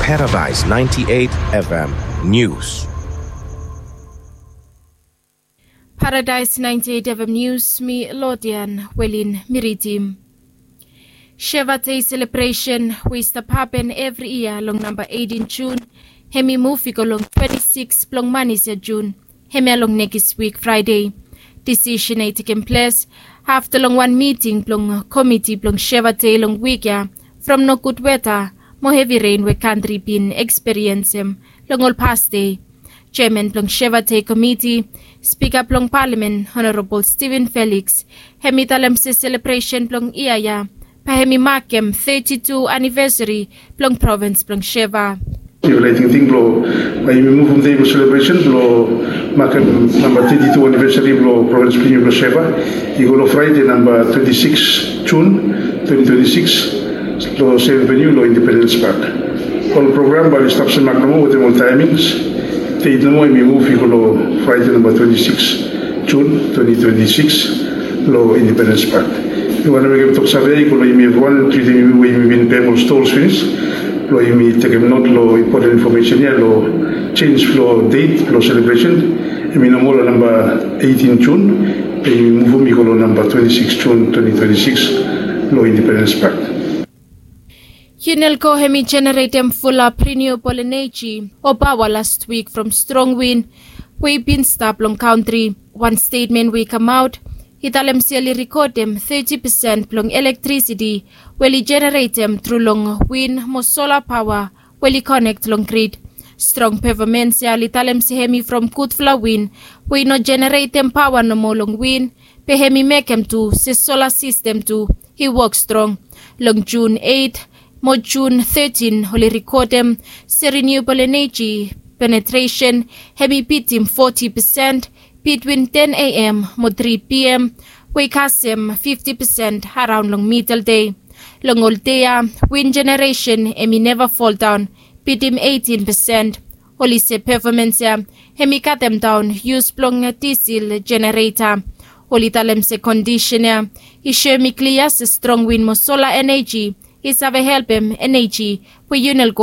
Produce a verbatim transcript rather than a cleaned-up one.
Paradise ninety-eight F M News. Paradise ninety-eight F M News, mi Lodian Welin mi ridim. Sheva Day celebration we i stap hapen evri yia long namba eighteen June, hemi muv i go long twenty-six blong manis ya June, hemia long nekis wik Fraede. Disisen ya i tekem ples afta long wan miting blong komiti blong Sheva Day long wik ya from nogud weta mo hevi ren we kantri bin ekspiriensem long ol pas dei. Jeaman blong Sheva Day komiti, Spika blong Palamen Honorabol Steven Felix, hemi talem se selebresen blong yia ya bae hemi makem teti tu anivesari blong provins blong Sheva. Yufala i tingting blong bae yumi muvum dei blong selebresen blong makem namba teti tu anivesari blong provins blong yumi blong Sheva i go long Fraede namba twenty-six June twenty twenty-six long seven venue long Independence Park. Ol program bae oli stap semak nomo wetem ol taemings. Deit nomo hemi muv i go long Fraede namba twenty-six June twenty twenty-six long Independence Park. Mi wantem mekem toksave i go long yumi evriwan, treatem yumi we yumi bin pem ol stols finis, blong yumi tekem not long impoten infomesen ya long jenis blong deit blong selebresen. Hemi nomo long namba eighteen June, be yumi muvum i go long namba twenty-six June twenty twenty-six long Independence Park. Unelco hemi jeneretem fulap renewable energy o paoa last wik from strong win we i bin stap long kantri. Wan stetmen we i kamaot i talem se oli rekodem teti pesen blong elektrisiti we oli jeneretem tru long win mo sola paoa we oli konek long grid. Strong pefomens ya oli talem se hemi from gudfala win we i no jeneretem paoa nomo long win, be hemi mekem tu se sola sistem tu i wok strong. Long Jun eit mo Jun tetin oli rekodem se renewable energy penetresen hemi bitim foti pesen bitwin ten A M mo tri P M, we i kasem fifti pesen araon long midel dei. Long ol dei ya, win jeneresen hemi neva foldaon bitim eitin pesen. Oli se pefomens ya hemi katemdaon yus blong disel jenereta. Oli talem se kondisen ya i soemi klia se strong win mo sola eneji i save helpem eneji we Unelco